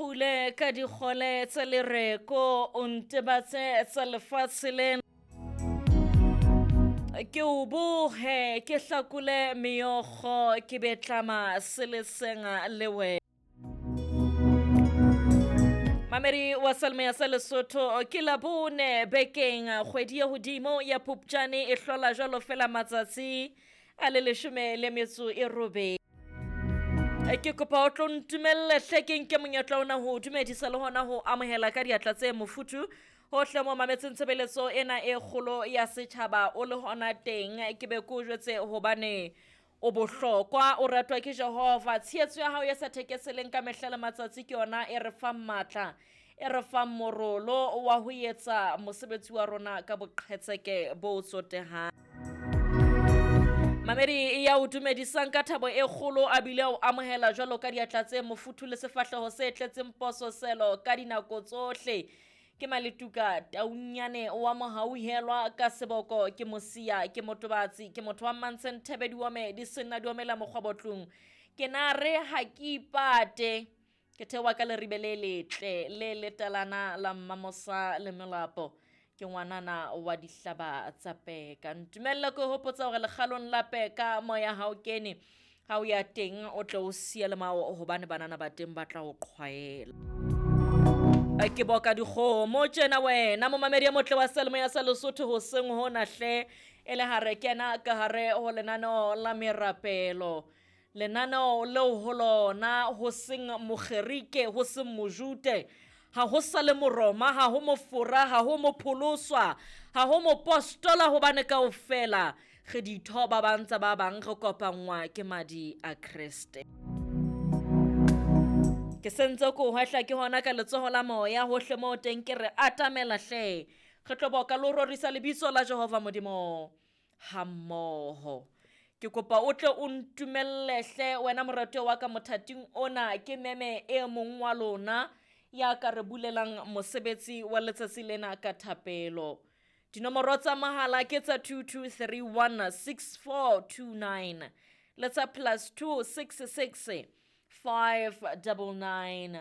Nkgule ka dikgole tsa lereko, o ntebatse tsa lefatshe lena. Ke o bohe, ke hlakole meokgo, ke be tlama seleseng le wena. Mamedi wa Salme sa Lesotho ke Labone bekeng kgwedi ya hodimo ya Phupjane e hlola jwalo fela matsatsi a le 18. Ke kopa o tlo ntumelle hle ke nke monyetla ona ho dumedisa le hona ho amohela ka diatla tse mofuthu hohle mo mametseng tshebeletso ena e kgolo ya setjhaba o le hona teng. Ke be ke o jwetse hobane o bohlokwa, o ratwa ke Jehova. Tshehetso ya hao e sa thekeseleng ka mehla le matsatsi ke yona e re fang matla, e re fang morolo wa ho etsa mosebetsi wa rona ka boqhetseke bo tsotehang. Mamedi ya o dumedisang ka thabo e kgolo a bile o amohela jwalo ka diatla tse mofuthu le sefahleho se tletseng pososelo ka dinako tsohle. Ke Maletuka Taunyane wa Mohauhelwa ka seboko, ke mosia, ke motobatsi, ke motho wa Mmantseng Thebe diome di senna diomela mokgwabotlung. Ke na re ha ke ipate, ke theoha ka leribe le letle le letalana la Mmamosa le Melapo. Ke ngwanana wa dihlaba tsa peka. Ntumelle ke hopotsa hore lekgalong la peka moya ha o kene, ha o ya teng o tle o siya le mao hobane banana ba teng ba tla o qhwaela. Ke boka dikgomo tjena wena momamedi ya motle wa Selemo ya sa Lesotho hoseng hona hle e le hare kena ka hare ho lenaneo la merapelo. Lenaneo leo ho lona ho seng Mogerike, ho seng Mojute, ha ho sa le Moroma, ha ho Mofora, ha ho Mopholoswa, ha ho Mopostola, hobane kaofela re ditho ba bang tsa ba bang re kopanngwa ke madi a Kreste. Ke sentse ko hwehla ke hona ka letsoho la moya hohle moo teng ke re atamela hle. Re tlo boka le ho rorisa lebitso la Jehova Modimo hammoho. Ke kopa o tle o ntumelle hle wena moratuwa wa ka mothating ona ke meme e mong wa lona ya ka re bulelang mosebetsi wa letsatsi lena ka thapelo. Dinomoro tsa mahala ke tsa 22316429 le tsa +266 599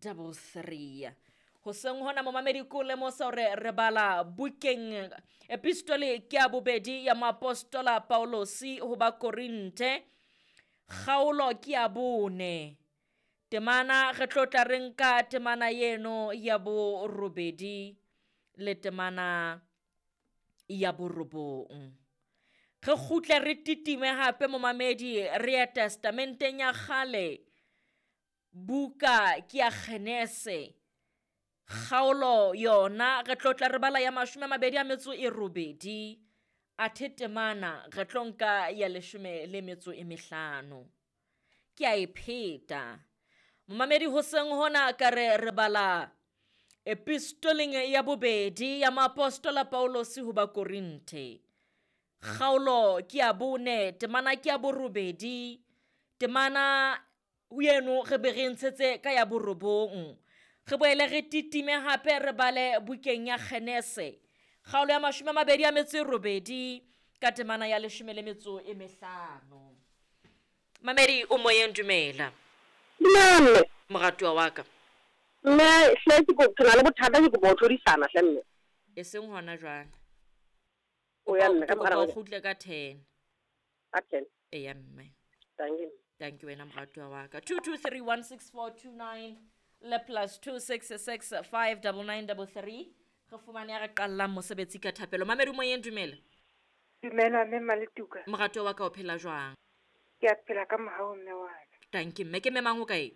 33. Hoseng hona momamedi ko lemosa hore re bala bukeng epistole ke ya bobedi ya moapostola Paulosi ho ba Korinthe, kgaolo ke ya 4. Temana re tlo tla re nka temana eno ya 8 le temana ya 9. Re kgutle re titime hape momamedi re ya testamenteng ya kgale, buka ke ya Genese, kgaolo yona re tlo tla re bala ya 28, athe temana re tlo nka ya 15. Ke a e pheta. Momamedi hoseng hona ka re re bala epistoleng ya bobedi ya moapostola Paulosi ho ba Korinthe, kgaolo ke ya 4, temana ke ya 8, temana eno re be re ntshetse ka ya 9. Re boele re titime hape re bale bukeng ya Genese, kgaolo ya 28 ka temana ya 15. Mamedi o moyeng, dumela. Dumela. Moratuwa wa ka. Mme hle ke ko na le bothata ke kopa ho tlhodisana hle mme. E seng hona jwale. O ya mme ka Kopa o kgutle ka 10. Ka 10. Eya mme. Thank you. Thank you wena moratuwa wa ka. 22316429 le +266 59933. Re fumane ya re qallang mosebetsi ka thapelo. Mamedi moyeng, dumela. Dumela mme Maletuka. Moratuwa wa ka o phela jwang? Ke a phela ka mohau mme wa ka. Thank you mme. Ke mme mang o kae?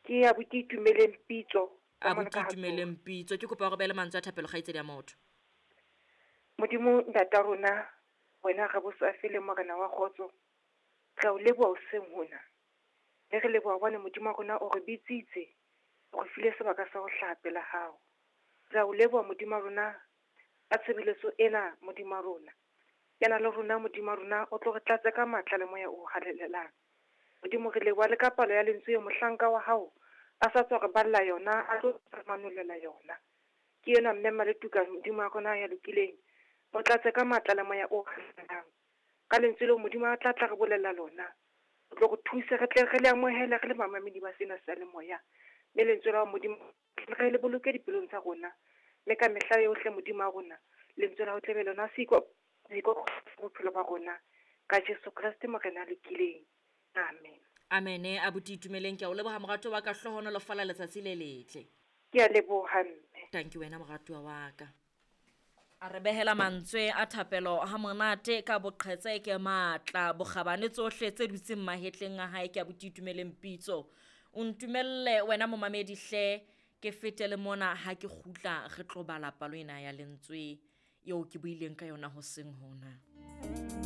Ke a buti Itumeleng Pitso. A buti Itumeleng Pitso. Ke kopa hore be le mantswe a thapelo kgaitsedi ya motho. Modimo ntata rona, wena re bosafele morena wa kgotso. Re o leboha hoseng hona. Le re leboha hobane Modimo wa rona o re bitsitse, o re file sebaka sa ho hlaha pela hao. Re o leboha Modimo wa rona ka tshebeletso ena Modimo wa rona. Kena le rona Modimo wa rona o tlo re tlatse ka matla le moya o halalelang. Modimo re leboha le ka palo ya lentswe eo mohlanka wa hao a sa tswa re balla yona, a tlo re manolela yona. Ke ena mme Maletuka Modimo wa rona ya lokileng, o tlatse ka matla le moya o halalelang. Ka lentswe leo Modimo a tla tla re bolella lona, o tlo re thuse re tle re le amohele re le mamamedi ba sena sa le moya. Mme lentswe la hao Modimo re le boloke dipelong tsa rona. Mme ka mehla yohle Modimo wa rona, lentswe la hao tle be lona seiko bophelo ba rona. Ka Jesu Kreste Morena a lokileng. Amen. Amene abuti Itumeleng, ke a o leboha moratuwa wa ka, hlohonolofala letsatsi le letle. Ke a leboha mme. Thank you wena moratuwa wa ka. A re behela mantswe a thapelo ha monate ka boqhetseke matla bokgabane tsohle tse dutseng mahetleng a hae ke abuti Itumeleng Pitso. O ntumelle wena momamedi hle ke fete le mona ha ke kgutla re tlo bala palo ena ya lentswe eo ke buileng ka yona hoseng hona.